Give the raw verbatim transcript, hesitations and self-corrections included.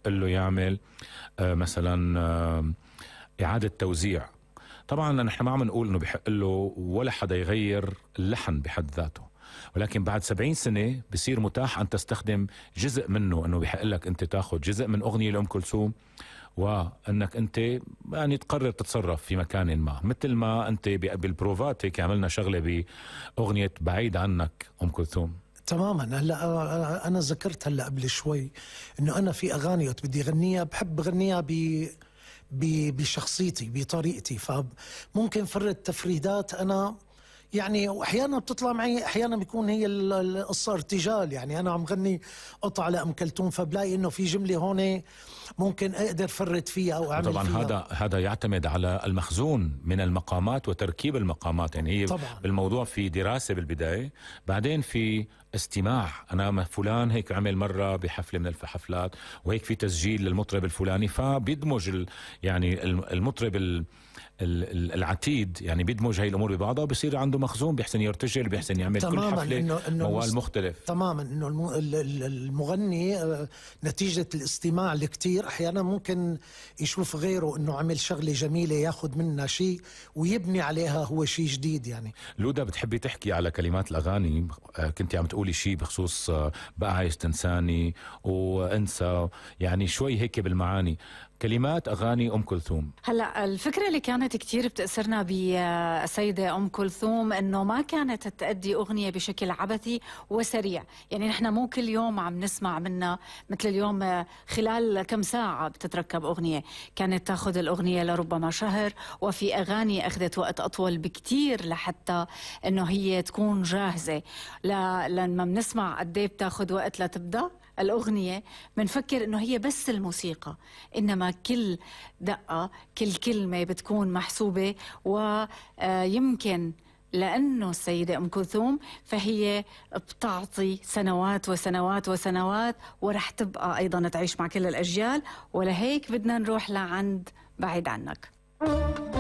بحق له يعمل آه مثلا آه إعادة توزيع. طبعا نحن ما عم نقول انه بحق له ولا حدا يغير اللحن بحد ذاته، ولكن بعد سبعين سنة بصير متاح ان تستخدم جزء منه، انه بحق لك انت تاخذ جزء من اغنية لأم كلثوم وانك انت يعني تقرر تتصرف في مكان ما، مثل ما انت بالبروفات هيك عملنا شغلة باغنية بعيد عنك ام كلثوم. تماما. هلا انا ذكرت هلا قبل شوي انه انا في اغاني وقت بدي غنيها بحب غنيها ب بشخصيتي بطريقتي، فممكن فرد تفريدات انا يعني، واحيانا بتطلع معي، احيانا بيكون هي القصه ارتجال، يعني انا عم غني قطعه لأم كلثوم فبلاقي انه في جمله هون ممكن اقدر فرد فيها او اعمل طبعا فيها. هذا هذا يعتمد على المخزون من المقامات وتركيب المقامات، يعني هي طبعا. بالموضوع في دراسه بالبدايه، بعدين في استماع. انا فلان هيك عمل مره بحفله من الحفلات وهيك في تسجيل للمطرب الفلاني، فبيدمج ال يعني المطرب ال العتيد يعني بيدمج هاي الامور ببعضها وبصير عنده مخزون، بيحسن يرتجل، بيحسن يعمل كل حفله إنه إنه موال مختلف. تماما. انه المغني نتيجه الاستماع الكتير احيانا ممكن يشوف غيره انه عمل شغله جميله ياخذ منها شيء ويبني عليها هو شيء جديد. يعني لودا بتحبي تحكي على كلمات الاغاني، كنت عم تقولي شيء بخصوص بقى عايز تنساني وانسى، يعني شوي هيك بالمعاني كلمات أغاني أم كلثوم. هلأ الفكرة اللي كانت كتير بتأثرنا بالسيدة أم كلثوم إنه ما كانت تأدي أغنية بشكل عبثي وسريع، يعني نحن مو كل يوم عم نسمع منها مثل اليوم خلال كم ساعة بتتركب أغنية، كانت تاخذ الأغنية لربما شهر، وفي أغاني أخذت وقت أطول بكتير لحتى إنه هي تكون جاهزة. لما بنسمع قد ايه بتاخذ وقت لتبدأ الأغنية بنفكر إنه هي بس الموسيقى، إنما كل دقة كل كلمة بتكون محسوبة، ويمكن لأنه السيدة أم كلثوم فهي بتعطي سنوات وسنوات وسنوات ورح تبقى أيضا تعيش مع كل الأجيال، ولهيك بدنا نروح لعند بعيد عنك.